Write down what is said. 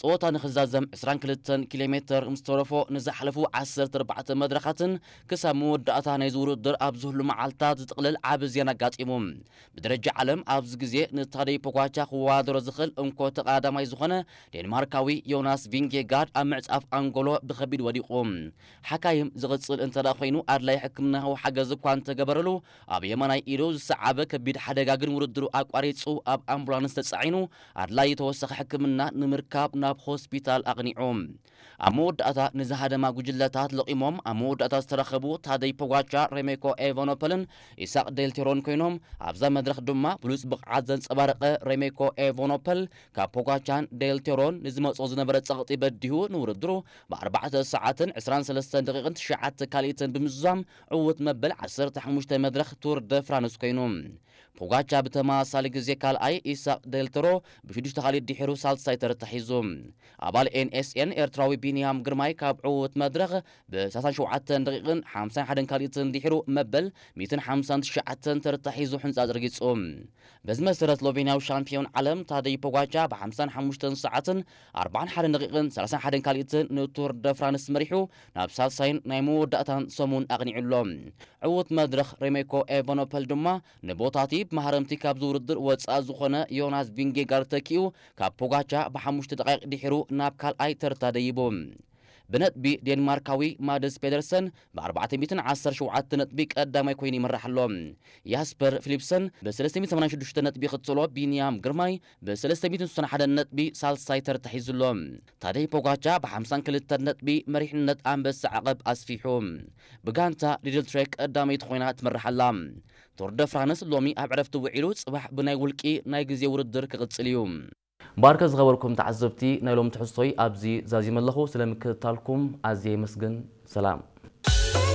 ጸወታ ንኽዛዘም ዕስራን ክልተን ኪሎ ሜተር ምስ ተረፎ፣ ንዝሓለፉ ዓሰርተ ኣርባዕተ መድረኻትን ክሳብ መወዳእታ ናይዚ ውድድር ኣብ ዝህሉ መዓልታት ዝጥቕልል ዓቢ ዜና ኣጋጢሙ። ብደረጃ ዓለም ኣብዚ ግዜ ንታደይ ፖጋቻ ክወዳደሮ ዝኽእል እንኮ ተቐዳዳማይ ዝኾነ ዴንማርካዊ ዮናስ ቪንጌጋርድ ኣብ ምዕጻፍ ኣንጎሎ ብኸቢድ ወዲቑ። ሓካይም ዝቕጽል እንተ ደኣ ኮይኑ ኣድላይ ሕክምናዊ ሓገዝ እኳ እንተገበረሉ፣ ኣብ የማናይ ኢዱ ዝሰዓበ ከቢድ ሓደጋ ግን ውድድሩ ኣቋሪጹ ኣብ ኣምቡላንስ ተጻዒኑ ኣድላይ ተወሳኺ ሕክምና ንምርካብ ናብ ሆስፒታል ኣቕኒዑ። ኣብ መወዳእታ ንዝሃደማ ጉጅለታት ለቒሞም ኣብ መወዳእታ ዝተረኸቡ ታደይ ፖጋቻ፣ ሬሜኮ ኤቫኖፐልን ኢሳቅ ዴልቴሮን ኮይኖም፣ ኣብዛ መድረኽ ድማ ብሉጽ ብቕዓት ዘንጸባረቐ ሬሜኮ ኤቫኖፐል ካብ ፖጋቻን ዴልቴሮን ንዝመጾ ዝነበረ ጸቕጢ በዲሁ ንውድድሩ ብ ኣርባዕተ ሰዓትን ዕስራን ሰለስተን ደቂቕን ትሽዓተ ካልኢትን ብምዝዛም ዕዉት መበል ዓሰርተ ሓሙሽተ መድረኽ ቱር ደ ፍራንስ ኮይኑ። ፖጋቻ ብተመሳሳሊ ግዜ ካልኣይ፣ ኢሳቅ ዴልቴሮ ብሽዱሽተ ካልኢት ድሒሩ ሳልሳይ ተርታ ሒዙ። ኣባል ኤን ኤስ ኤን ኤርትራዊ ቢንያም ግርማይ ካብ ዕዉት መድረኽ ብ ሰላሳን ሸውዓተን ደቂቕን ሓምሳን ሓደን ካልኢትን ድሒሩ መበል ሚእትን ሓምሳን ትሽዓተን ተርታ ሒዙ ሕንጻ ዘርጊጹ። በዚ መሰረት ስሎቬንያዊ ሻምፒዮን ዓለም ታደይ ፖጋቻ ብ ሓምሳን ሓሙሽተን ሰዓትን ኣርባዓን ሓደን ደቂቕን ሰላሳን ሓደን ካልኢትን ንቱር ደ ፍራንስ መሪሑ ናብ ሳልሳይን ናይ መወዳእታን ሰሙን ኣቕኒዑ ኣሎ። ዕዉት መድረኽ ሬሜኮ ኤቫኖፐል ድማ ንቦታቲ ብመሃረምቲ ካብዚ ውድድር ወጻኢ ዝኾነ ዮናስ ቪንጌጋርድ ተኪኡ ካብ ፖጋቻ ብሓሙሽተ ደቂቕ ድሒሩ ናብ ካልኣይ ተርታ ደይቡ። ብነጥቢ ዴንማርካዊ ማድስ ፔደርሰን ብ ኣርባዕተ ሚእትን ዓሰርተ ሸውዓተ ነጥቢ ቀዳማይ ኮይኑ ይመርሕ ኣሎ። ያስፐር ፊሊፕሰን ብ ሰለስተ ሚእትን ሰማንያን ሽዱሽተ ነጥቢ ይኽተሎ፣ ቢንያም ግርማይ ብ ሰለስተ ሚእትን ስሳን ሓደን ነጥቢ ሳልሳይ ተርታ ሒዙ ኣሎ። ታደይ ፖጋቻ ብ ሓምሳን ክልተን ነጥቢ መሪሕነት ኣንበሳ ዓቐብ ኣስፊሑ። ብጋንታ ሊድል ትሬክ ቀዳመይቲ ኮይና ትመርሕ ኣላ። ቱር ደ ፍራንስ ሎሚ ኣብ ዕረፍቲ ውዒሉ ጽባሕ ብናይ ውልቂ ናይ ግዜ ውድድር ክቕጽል እዩ። ባርከ ዝኸበርኩም ተዓዘብቲ፣ ናይ ሎም ትሕዝቶይ ኣብዚ ዛዚመ ኣለኹ። ስለምክትታልኩም ኣዝየ የመስግን። ሰላም።